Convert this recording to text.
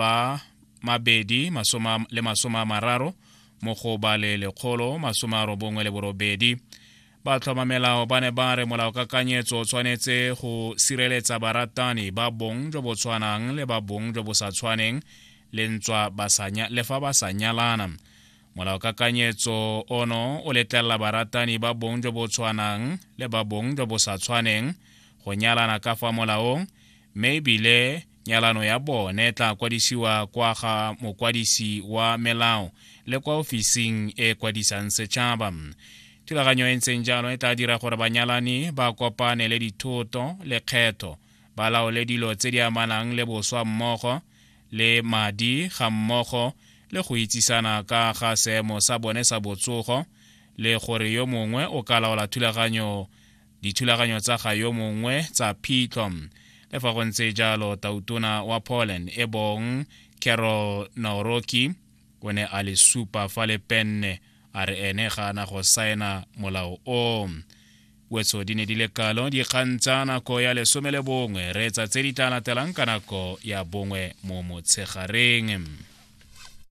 A mabedi masome le masome a mararo mo go ba le 198. Batlhomamelao ba ne ba re molaokakanyetso o tshwanetse go sireletsa baratani ba bong jo bo tshwanang le ba bong jo bo sa tshwaneng le ntswa ba sa le fa ba sa nyalana. Molaokakanyetso ono o letlelela baratani ba bong jo bo tshwanang le ba bong jo bo sa tshwaneng go nyalana ka fa molaong mme ebile Nyalano ya bone e tla kwadisiwa kwa ga mokwadisi wa melao le kwa ofising e kwadisang setšhaba. Thulaganyo e ntseng jalo e tla dira gore banyalani ba kopane le dithoto, lekgetho, ba laole dilo tse di amanang le boswa mmogo le madi ga mmogo le go itsisana ka ga seemo sa bone sa botsogo le gore yo mongwe o ka laola thulaganyo dithulaganyo tsa ga yo mongwe tsa phitlho. Le fa go ntse jalo, tautona wa Poland e bong Karol Nawrocki o ne a le supa fa le penne, a re ene ga a na go saena molao o. Wetso di ne di le kalo dikgang tsa nako ya lesome le bongwe. Reetsa tse di tla latelang ka nako ya bongwe mo motshegareng.